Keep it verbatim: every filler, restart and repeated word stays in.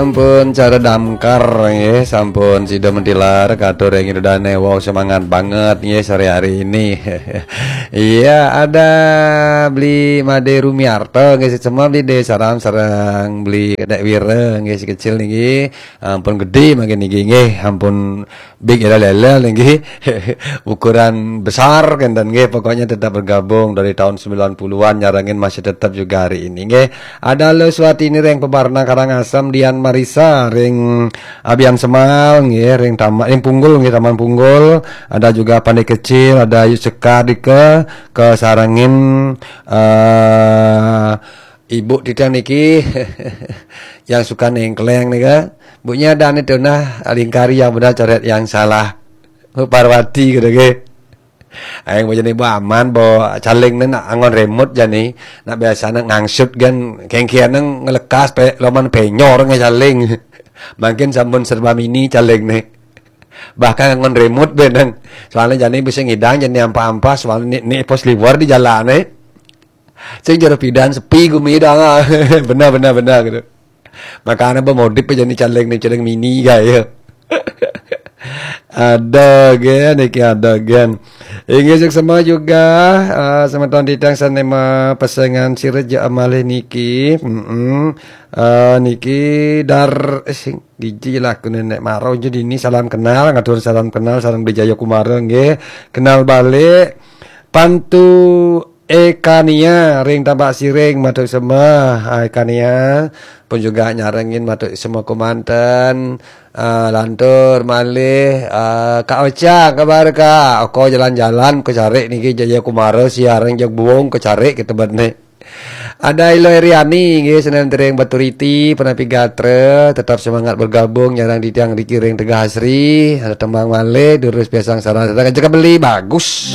Sampun cara damkar nggih, sampun sida mentilar katur ring ida dane. Wow, semangat banget nggih sore hari ini. Iya, ada Beli Made Rumiarto nggih, sesama Beli De Saram sareng Beli Kedek Wira nggih, si kecil niki. Ampun gede mangkin niki nggih, ampun big ira lele nggih. Ukuran besar kenten nggih, pokoknya tetap bergabung dari tahun sembilan puluhan nyarengin masih tetap juga hari ini nggih. Ada Lo Suwatini ring Pebarna Karangasem, Dian Marisa ring Abian Semal nggih, ring Taman, ring Punggul nggih, Taman Punggul. Ada juga Pandai Kecil, ada Ayu Sekar dika, kasarengin, eh, ibu titiang niki yang suka nengkleng nika. Bunya ada nih tuh nah, lingkari yang benar, coret yang salah. Bu Parwati gitu nggih. Aing mau jadi Bu Aman, bo caling nih nak angon remote jani. Nak biasa nak ngangsut kan, kengkian nang ngelekas pe, loman penyor nge caling. Mungkin sampun serba mini caling nih. Bahkan angon remote benang. Soalnya jani bisa ngidang, jani ampa-ampa, soalnya ni, ni pos liwar di jalan nih. Sing jero pidan sepi gumi dah. Benar, benar, benar gitu. Makanya bemodif aja nih caling nih, caling mini gaya. Ada gen, niki ada gen. Inggih, suksma juga, eh, semeton titiang sane mapesengan sira ja amalih niki. Mm-mm. Eh, niki dar, eh, sing diji laku nenek maro jadi ini salam kenal, ngatur salam kenal, salam Beli Jaya Kumara nggih. Kenal balik. Pantu Ekania ring Tambak Siring, matur sembah. Ah, Ekania pun juga nyarengin, matur sembah kemanten. Ah, lantur malih, ah, Kak Ocha, kabar Kak? Oko jalan-jalan ke carik niki, Jaya Kumara siareng jeg buung ke carik kita bet ni. Ada Ilo Eriani nggih, senen tering Baturiti, penapi gatra, tetap semangat bergabung, nyarang di tiang di kiring Tegah Asri, ada tembang malih, durus piasang sarang, sarang aja beli, bagus.